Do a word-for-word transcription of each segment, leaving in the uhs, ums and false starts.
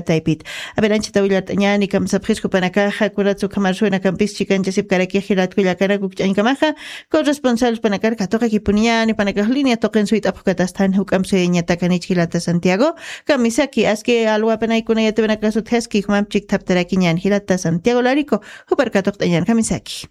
Taypit. A ver, anchata willart'añäni, kamsapxis jupanakaxa, kuratsu ukhamar suwinakampis chikanchasipkarakix jilat kullakanaka ukch'añkamaxa, corresponsal jupanakar katuqakipuniñäni, jupanakax línea tuqin suyt'apxukatasthan, juk'amp suyañatakanich jilata Santiago, kamisaki, aski alwapanaykuna yatiwinakasutjaski, jumamp chikthaptarakiñäni jilata Santiago Larico, jupar katuqt'añäni, kamisaki.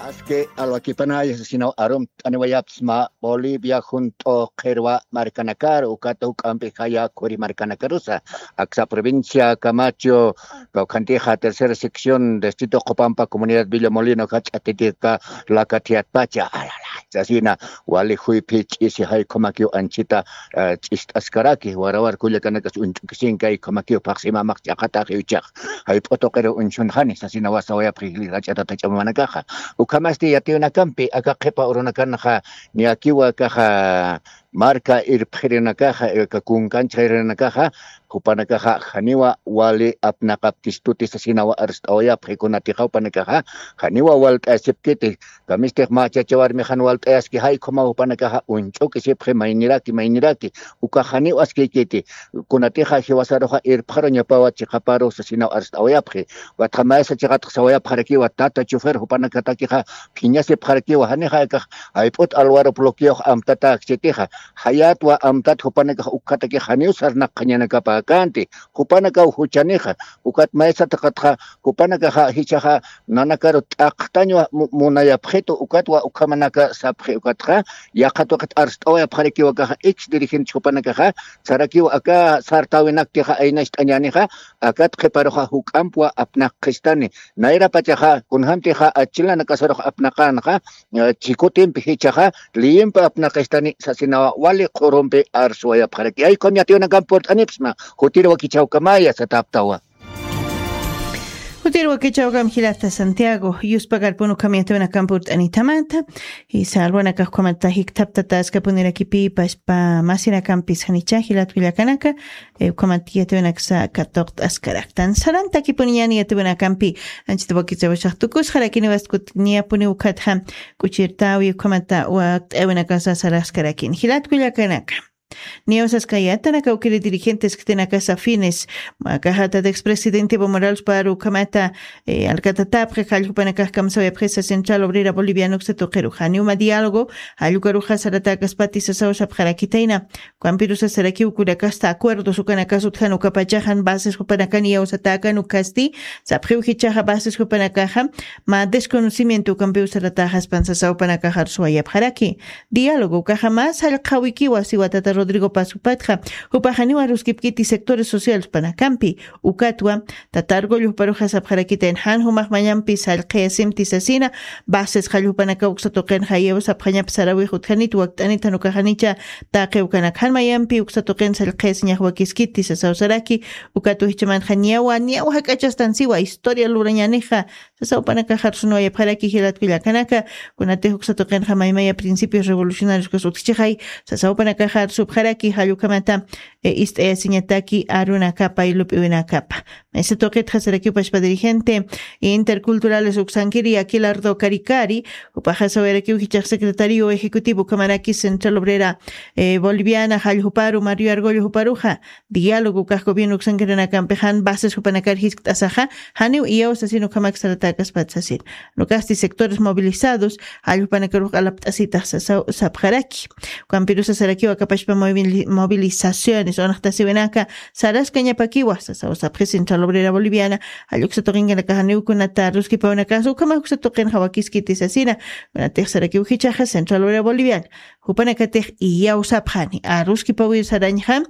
Aski alwakipanaya sasinaw arumt'aniwayapsma Bolivia junt'u qhirwa markanakar, ukat juk'ampi jaya khuri markanakarusa, aksa provincia Camacho, kawkhantixa tercera sección distrito Qopampa comunidad Villa Molino, jach'atitika lakathiatpacha, alalay, sasina wali juyphi ch'isi jaykhumakiw anchita, eh, ch'ist'askaraki, warawar kullakanakas uñch'ukisinkay, khumakiw phaxsimamax ch'aqatax iwchax. Jayp'u tuqiru uñsunxani, sasinawa sawayapxi jilïr jach'atat jach'amamanakaxa. Ukhamasti yatiwinakampi, aka qhipa urunakanxa, niyakiwa akaxa, marka irpxirinakaxa, aka kunkanchxarinakaxa, jupanakaxa, janiwa wali apnaqapkistuti sasinawa arst'awayapxi kunatixa jupanakaxa, janiwa walt'ayasipkiti, kamistix mä chacha warmixan walt'ayaski, jaykhuma jupanakaxa uñch'ukisipxi mayniraki, mayniraki, ukax janiw askiykiti, kunatixa jiwasaruxa irpxaruñapawa chiqaparu sasinaw arst'awayapxi. Ukatxa maysa chiqatx sawayapxarakiwa, tata chofer jupanakatakixa phiñasipxarakiwa, janixa akax jayp'ut alwarup bloqueox amtatäkchitixa, jayatwa amtat jupanakax ukhatakix janiw sarnaqxañanakapäkänti, jupanakaw juchanixa, ukat maysa chiqatxa jupanakaxa jichhaxa nanakaru t'aqtañwa mu-, munayapxitu, ukatwa ukhamanaka sapxi, ukatxa yaqha tuqit arst'awayapxarakiwa akaxa ex dirigente jupanakaxa, sarakiwa aka sartäwinaktixa aynacht'añänixa, akat qhiparuxa juk'ampwa apnaqxistani, nayrapachaxa kunjamtixa achilanakasarux apnaqänxa, eh, chikutimpi jichhaxa liyimpi apnaqistani sasinawa wali qhurumpi arsuwayapxaraki. Jaykhum yatiwinakamp purt'anipxsma, jutir wakichhawkamaya satäptawa. Jutir wakichhawkam jilata Santiago, yuspagarpun ukham yatiwinakamp purt'anithamata, jisa alwanakax ukhamata jikthaptata askapunirakipï pachpa masinakampis janicha jilat kullakanaka, eh, ukhamat yatiwinaksa katuqt'askaraktan. Sarantakipuniñäni yatiwinakampi, anchita wakichäwashax tukusxarakini, waskut niyapuni ukhatxa k'uchirtäwi ukhamata wakt'äwinakasa saraskarakin. Jilat kullakanaka. Niyaw saskayätanaka ukiri dirigentes khitinakasa afines, akaxa tata expresidente Evo Morales paru ukhamata, eh, alkatatäpxi, jall jupanakax kamsawayapxisa Central Obrera Boliviana uksa tuqiru. Janiw mä diálogo, jall ukaruxa saratäkaspati sasaw sapxarakitayna. Ukampirusa sarakiw kunakasta acuerdos ukanakas utjan ukapachaxa jan bases jupanakan iyawsatäkan ukasti, sapxiw jichhaxa bases jupanakaxa mä desconocimiento ukampiw saratäxaspan sasaw jupanakax arsuwayapxaraki. Diálogo ukaxa mä sallqawikiwa siwa tata Rodrigo Paz jupatxa, jupax janiw aruskipkiti sectores sociales jupanakampi, ukatwa tata Argüello juparuxa sapxarakitayna jan jumax mayampi sallqayasimti sasina, bases jall jupanakaw uksa tuqinxa iyawsapxañap saräwix utjanit wakt'anit jan ukax janicha taqi ukanak jan mayampi uksa tuqin sallqayasiñax wakiskiti sasaw saraki, ukat jichhamanxa niyawa, niyaw jak'achastan siwa historia lurañänixa, sasaw jupanakax arsunwayapxaraki jilat kullakanaka, kunatix uksa tuqinxa maymaya principios revolucionarios kas utjchixay, sasaw jupanakax arsupxaraki jall ukhamata, eh, ist'ayasiñataki arunakapa y lup'iwinakapa. Maysa tuqitxa sarakiw pachpa dirigente interculturales uksankiri Aquilardo Caricari, jupaxa sawayarakiw jichhax secretario ejecutivo ukhamaraki Central Obrera, eh, Boliviana jall juparu Mario Argüello juparuxa, diálogo ukax gobierno uksankirinakampix jan bases jupanakar jiskt'asaxa, janiw iyawsa sino ukhamak saratäkaspat sasin. Ukasti sectores movilizados, jall jupanakarux q'alapt'asitax sasaw sapxaraki. Ukampirusa sarakiw aka pachpa movili-, movilizaciones, unxtasiwinaka, saraskañapakiwa, sasaw sapxi Central Obrera Boliviana, jall uksa tuqinkanakax janiw kunata aruskipawinakasa, ukhamax uksa tuqinxa wakiskiti sasina, kunatix sarakiw jichhaxa Central Obrera Boliviana, jupanakatix iyawsapxani, aruskipawir sarañxa,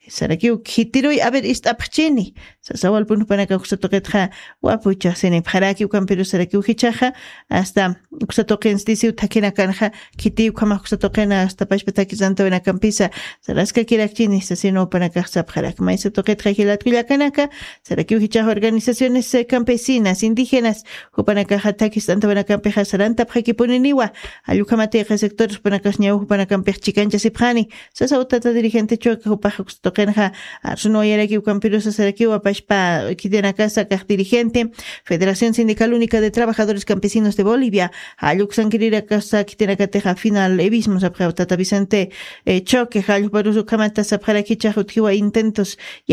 sarakiw khitiruy, a ver, ist'apxchini. Sasawalpun jupanakax uksa tuqitxa wapuchasinipxaraki, ukampirus sarakiw jichhaxa, hasta uksa tuqinsti siw thakhinakanxa, khitiy ukhamax uksa tuqina, hasta pachpa thakhisantawinakampisa, saraskakirakchini, sasina jupanakax sapxaraki. Maysa tuqitxa jilat kullakanaka, sarakiw jichhax organizaciones, eh, campesinas, indígenas, jupanakaxa thakhist'antawinakampixa sarantapxakipuniniwa, jall ukhamatix sectores jupanakax ñaw jupanakampix chikanchasipxani, sasaw tata dirigente Chueca jupax uksa Qinxa arsunwayarakiw kampirusa sarakiw apashpa kitinakasa kax dirigente Federación Sindical Única de Trabajadores Campesinos de Bolivia, jalluksankirirakaxa kitinakatixa final evismo sapxaw tata Vicente Choque jallukparusu ukhamata sapxarakichax utjiwa intentos